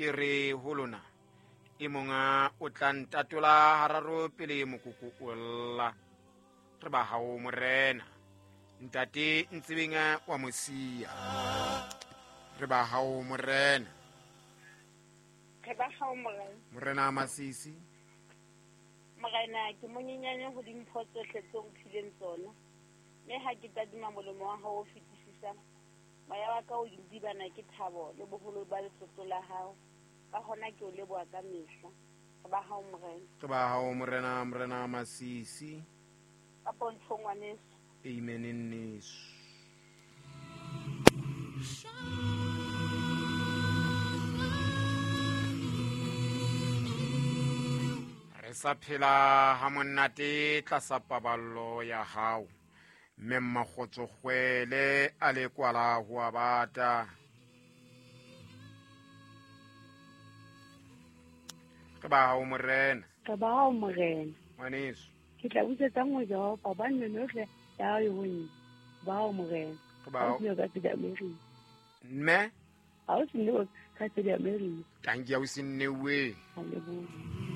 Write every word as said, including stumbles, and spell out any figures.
Ke re ho lona e monga o tla ntatola hararo pele mokoko o lla. Re ba hao morena. Ntate Ntsebeng wa Mosia. Re ba hao morena. Re ba hao morena. Morena Masisi. Morena ke monyenyane ho dimpho tsohle tseo o mphileng tsona. Mme ha ke tadima molemo wa hao o fetisisang, moya wa ka o dibana ke thabo le boholo ba letlotlo la hao. Ka hona ke o leboha ka mehla. Re ba hao morena. Re ba hao morena, morena Masisi. Ka pontsho ngwaneso. Amen nneso. Re sa phela ha monate tlasa paballo ya hao. Mme Mmakgotso Kgwele a le kwala ho a bata. Re ba hao morena. Re ba hao morena. Ngwaneso. Ke tla busetsa nngwe Jehova hobane meno yohle ya hao e ho nna. Ba hao morena. Re ba hao. Ha o se ka tsela Amerika. Mme? Ha o se ka tsela Amerika. Tanki ya o se nnewe. A leboha.